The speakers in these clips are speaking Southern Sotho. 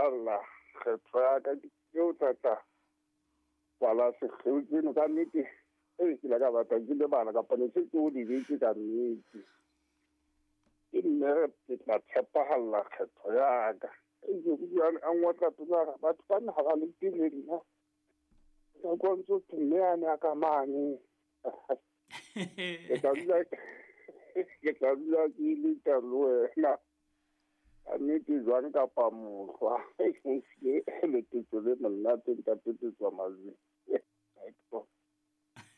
tshepahalla kgetho ya ka ke o tlatla kwala sekgeo tseno ka nnete. Ee, ke la ka batla ke lebala kapa ne se ke o lebetse ka nnete. Ke mme ke tla tshepahalla kgetho ya ka. Ee, ke bua a ngotla pelo ya ka, batho bana ha ba lete le nna. Ka kwa ntso thwe mme a ne a ka mane. Ke tla dula ke leta le wena. Ka nnete jwang kapa mohlwa. Ke letetso le monate ntate Petswa Majweng.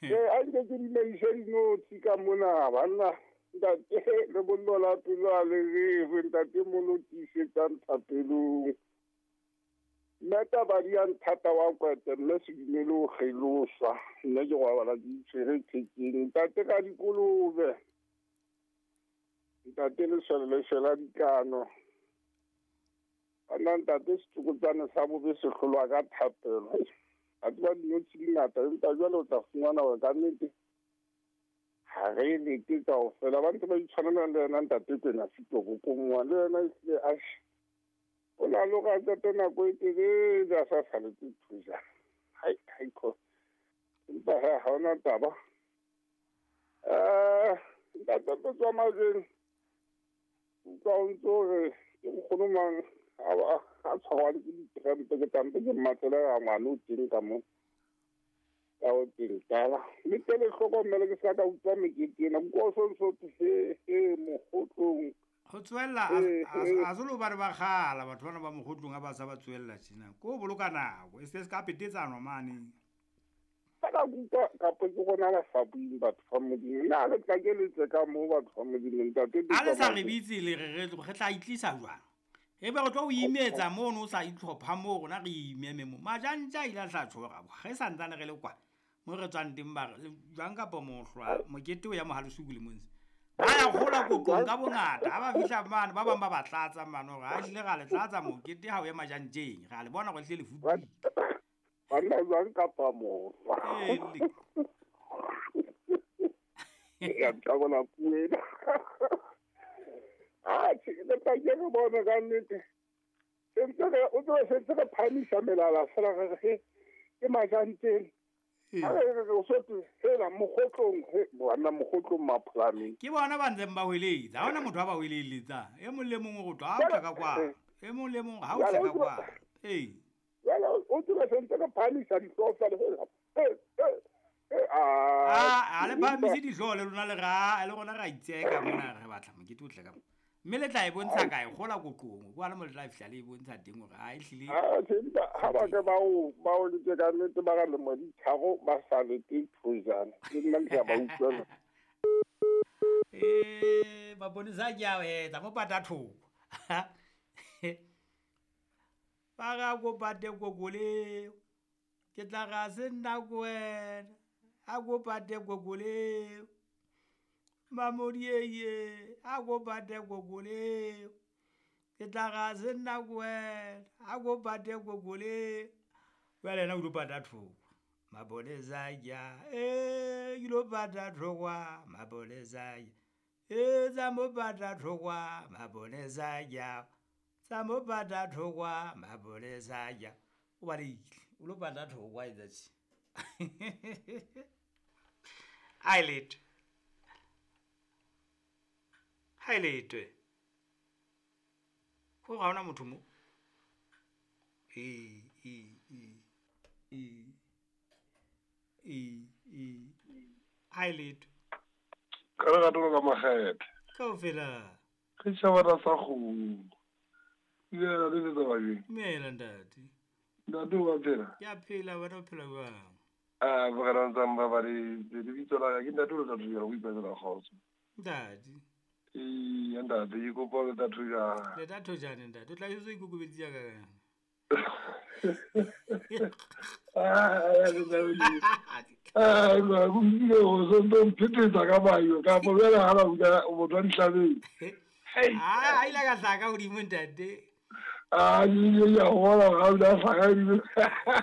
Ee, a nke ke dimeise dinotshi ka mona banna. Ntate lebollo la pelo a le rewe ntate mono tiisetsang thapelong. Mme taba di ya nthata wa kwete mme se dumele ho kgeloswa. Nna ke robala ke itshwere thekeng. Ntate ka dikolobe. Ntate lesole le shwela dikano. Banna ntate setsokotsane sa bobe se hlolwa ka thapelo. A tseba dinotshi di ngata empa jwale o tla fumana hore ka nnete ha re lete kaofela. Ba ntse ba itshwanela le yena ntate Kwena Sitoko Kongwa le yena ehlile atjhe. O na le hore a qete nako e telele a sa saletse thujana. Hai, haikho. Empa he ha hona taba. Ntate Petswa Majweng, utlwa o ntso re ke nkgono mang a tshwarwang ke dikrempe ke tlampe ke mmatlele ga ngwana o teng ka mo. Ka o teng tala. Mme tele hlokomele ke se ka utlwa mekete ena. Nko o so ntso thwe he, he, mokgotlong. Ho tswella a se lo ba re ba kgala batho bana ba mokgotlong ha ba sa ba tswella tjena. Ko boloka nako e se ka petetsano mane. Ka utlwa kapa ke rona ba sa bueng batho ba Modimo. Nna le tla ke letse ka moo batho ba Modimo ntate. A le sa re bitse le re re tla itlisa jwang? Ebe re tlo o imetsa mono o sa itlhopha moo rona re imeme mo. Majantja a ile a tla tjhora bo. Re sa ntsane re le kwa. Mo re tswang teng ba re jwang kapa mohlwa mokete o ya Mohalesuku le monse. Ba ya kgola kokong ka bongata ha ba fihla mane ba bang ba ba tlatsa mane hore ha ehlile ra le tlatsa mokete ha o ya majantjeng. Ra le bona hore ehlile le futuhile. Banna jwang kapa mohlwa. Ya ntabola puo ena. Atjhe, le tla ke re bone ka nnete. Sentse re o tsebe sentse re phahamisa melala fela re re ke majantjeng. Ha re re o so thwe hela mokgotlong, he banna mokgotlong mapholaneng. Ke bona ba ntseng ba hweletsa. Ha hona motho a ba hweleletsang. E mong le mong o re tlo ha o tla ka kwa. E mong le mong ha o tla ka kwa. Ee. Jwale o tsebe sentse re phahamisa dihlooho fela hela. A le phahamise dihlooho le lona le ra le rona ra itseka mona re batla mokete o tle ka mo. Mme le tla e bontsha kae kgola koqong kwa le mo le tla fihla le e bontsha teng hore ha ehlile. Ha ba ke ba o letse ka nnete ba ka lemo di tharo ba sa lete thojana. Ke nna ke ba utlwela. Ba bonisa ke a etsa mo pata thoko. Ba ga go pate gogole. Ke tla ga se nna go wena. A go pate gogole. Mamodieye, a go pate gogole. Ke tla ga se nna go wena. A go pate gogole. Jwale yena o ilo pata thoko. Mapolesa ja, ilo pata thokwa. Mapolesa ja. Tsa mo pata thokwa. Mapolesa ja. Tsa mo pata thokwa. Mapolesa ja. O balehile. O lo pata thokwa etsa tje. Ai letho. Ha e letwe. Ko ga ona motho mo. E e e e e e. Ha e letwe. Ka re ratola ka makgethe. Kaofela. Re tjhabana sa kgomo. Dumela le tsa bajeng. Dumela ntate. Ntate o a phela? Ke a phela, wena o phela jwang? Ah, bogela ntsang ba ba le lebitso la ka ke ntate o le tla thuja go ipatlela kgotso. Ntate. Ee, ntate ke kopa le tla thuja. Le tla thujane ntate, o tla o ikokobeditse ka kang? Ah, go ile go so ntse mphetetsa ka bayo ka bo bjale ha ba utlwa motho wa dihlabeng. Ah, a ile ka hlaka hodimo ntate. Ah, ya hola ga o la hlaka hodimo.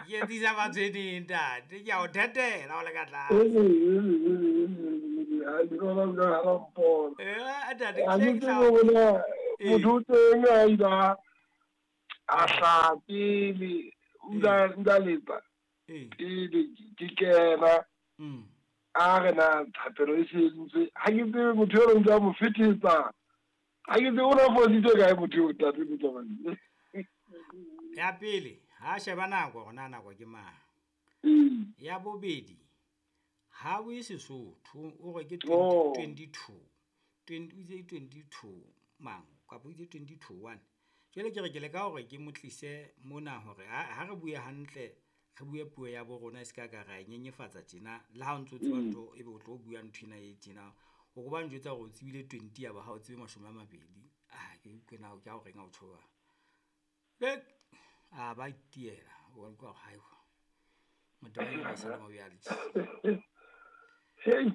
Ke etsisa batshweneng ntate, ke a o thetela o le ka tlase. Ntate, motho o teng a ila A hlaha pele o ile a letsa pele ke kena. A re na thapelo e sentse. Ha ke tsebe motho eo ntse a mo fetetsa. Ha ke tsebe o na fositse kae motho eo ntate Motsamai. Ya pele, ha sheba nako hore na nako ke mang. Ya bobedi, ha bue Sesotho o re ke 22. 22 mang kapa o itse 22 1. Jwale ke re ke leka hore ke mo tlise mona hore ha re bue hantle, re bue puo ya bo rona e se ka ka ra e nyenyefatsa tjena. Le ha o ntso tseba ntho ebe o tlo bua ntho ena e tjena. O ko ba njwetsa hore o tsebile 20 ya ba ha o tsebe 20. Ah, ke utlwe na ke a o reng ha o tjho jwalo. A ba itiela, o utlwa hore hai. Motho wa ena ba sa le mo bjale. Hey.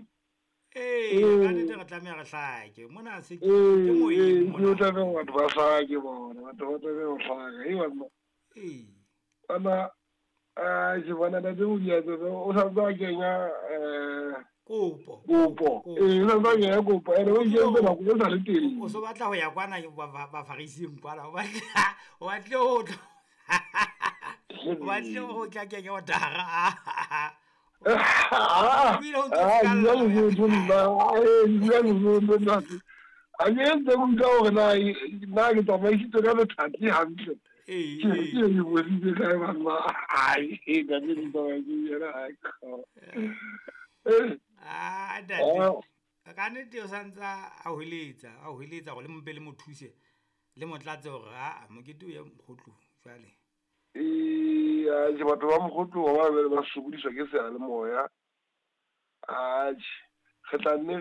Ee, ka nnete re tlameha re hlake. Mona se ke moyeng mona. Ke tlameha batho ba hlake bona, batho ba tlameha ho hlaka. Hei banna. Ee. Banna, ke bona ntate Modianyewe o sa ntse a kenya kopo. Kopo. Ee, o sa ntse a kenya kopo. Ene o ikentse nako e sa le teng. O so batla ho ya kwana bafarising kwana. O batle ho tla. O batle ho tla kenya otara. A ke utlwa hore na ke tsamaisitswe ka letsatsi hantle. Ke ke boditse kae banna. Ai, ntate Motsamai yena ai. Ah, ntate. Ka nnete o santsa a hweletsa hore le mpe le mo thuse le mo tlatse hore a mokete o ye mokgotlong jwale. Ee, batho ba mokgotlong ba be ba sokodiswa ke seyalemoya. Atjhe, re tla nne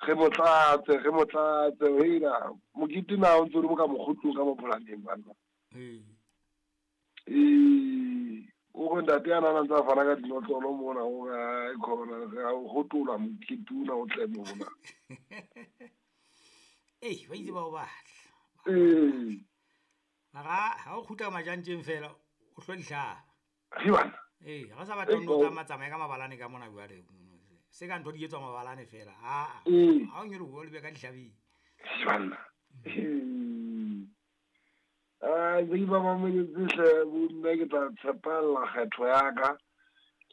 re motlatse, heila mokete na o ntse o le mo ka mokgotlong ka mapolaneng banna. Ee. Ee, o re ntate a na ntse a fana ka dinotlolo mona o re ai khona re a o hotola mokete ona o tle mona. Ee, ba itse ba o batla. Ee. Mara ha o kgutla majantjeng fela o hlo dihlaba. He bana. Ee, ha sa batla no tsamaya ka mabalane ka mona jwale. Se ka ntho di etswa mabalane fela. Ha o nyoloha o lebe ka dihlabeng. He bana. Ah, ke ba mametse hle bo nna ke tla tshepella kgetho ya ka.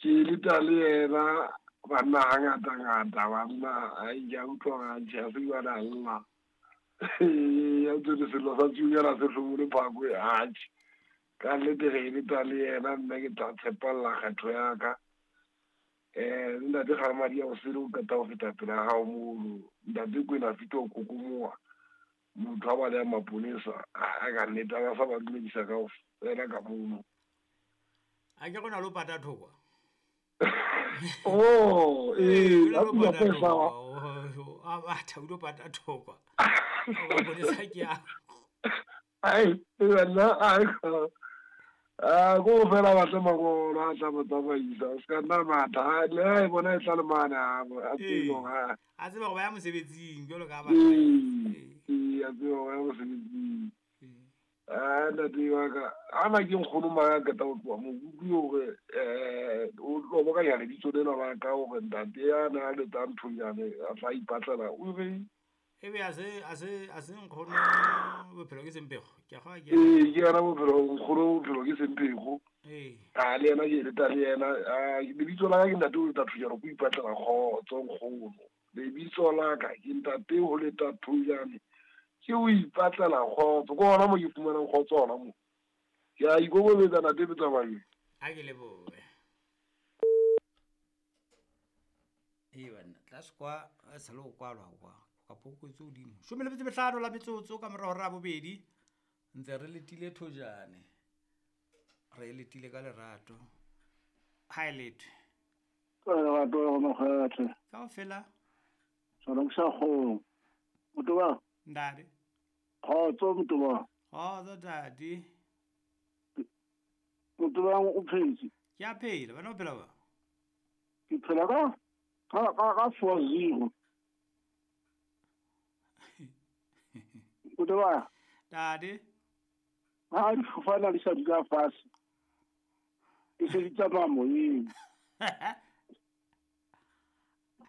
Ke leta le yena banna hangata ngata banna ai ke a utlwa ga tjhe se ba na lla. Ya tsene selo sa tsunyana se hlobole phako atjhe. Ka nnete re leta le yena nna ke tla tshepella kgetho ya ka. Ntate ga madi a o sele o qeta ho feta pela hao mono. Ntate Kwena fito o kokomoha. Motho a ba le maponesa a ka nnete a ba sa ba dumedisa kaofela ka mono. A ke gona lo pata thokwa. Oh, ee, a pata thokwa. A batha o lo pata thokwa. Maponesa ke a. Ai, nna ai a go fela ba tla mangolo a tla mo tsamaisa. O ska nna matha le ha e bona e tla le mane a tsebo ha. A tseba go ba ya mosebetsing jwalo ka ba. Ee, a tseba go ya mosebetsing. Ah, ntate wa ka ana ke nkgono mang ka tla tloha mo utlwe hore o tlo boka ya lebitso lena la ka hore ntate ya na le tsa nthonyane a tla ipatlela o re ebe a se nkgono bophelo ke sempego ke ga ke. Ee, ke yena bophelo nkgono bophelo ke sempego. Ee. A le yena ke leta le yena lebitso la ka ke ntate o leta thujane ko ipatlela kgotso nkgono. Lebitso la ka ke ntate o leta thujane ke o ipatlela kgotso ko hona mo ke fumanang kgotso hona mo. Ke a ikokobetsa ntate Motsamai. A ke lebohe. Ee banna, tlase kwa a sa le go kwalwa kwa. Kapo ko tse hodimo. 15 la metsotso ka mora hora ya bobedi. Ntse re letile thojane. Re letile ka lerato. Ha e lethwe. Ka lerato go mokgathe. Kaofela. Sona ke sa kgong. Motho ba? Ntate. Kgotso motho ba. Kgotso ntate. Motho ba o phetse? Ke a phela, wena o phela ba? Ke phela ka 4-0. Motho ba? Ntate. Ha di fofana di sa dula fatshe. Ke se di tsamaya moyeng.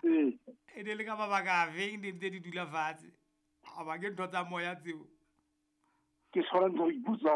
Ee. E ne le ka mabaka a feng di ntse di dula fatshe? A ba ke ntho tsa moya tseo. Ke tshwara ntse re ipotsa.